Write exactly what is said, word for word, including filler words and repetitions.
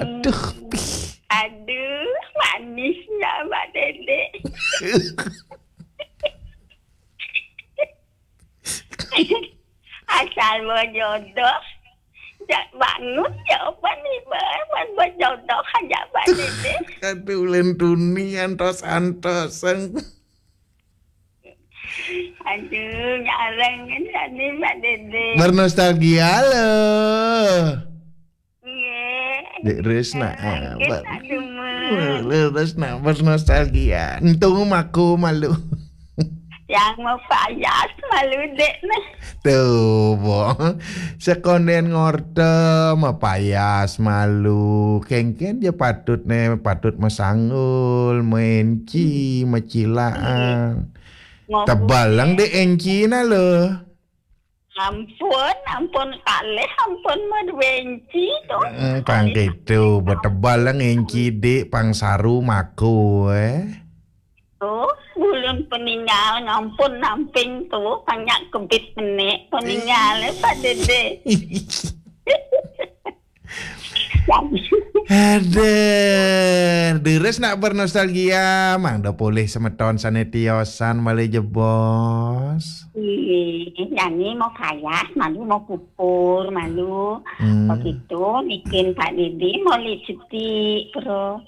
Aduh, pih. Aduh, manisnya Mbak Dede. Asal mau jodoh. Jak bangun ya apa nih, Mbak? Mau jodoh aja Mbak Dede. Aduh, ulun tuni antos-antos. Aduh, nyareng kan tadi Mbak Dede. Bernostalgia loh. Iya. Dek Resna, Kaget apa? tak demen. Lu Resna bernostalgia. Entung aku malu. Yang mau payas malu dek nih. Tuh, bo. Sekonden ngorte mapayas malu. Kengken je patut ne, patut masanggul, menci, macilaan. Mau Tebalang dek enci na lo. Ampun, ampun kalih, ampun menci tuh. Hmm, pang gitu, betebalang enci dek pang saru mako eh. Tuh, bulun peninggal ngampun namping tuh, banyak kebit menik peninggal eh, Pak Dede. Aduh, deres nak bernostalgia, mang do polih semeton sane tiosan malih jebos. Ih, nyanyi mau payas, malu mau pupur, malu. Hmm. Begitu, bikin Pak Dede mau lipstick, bro.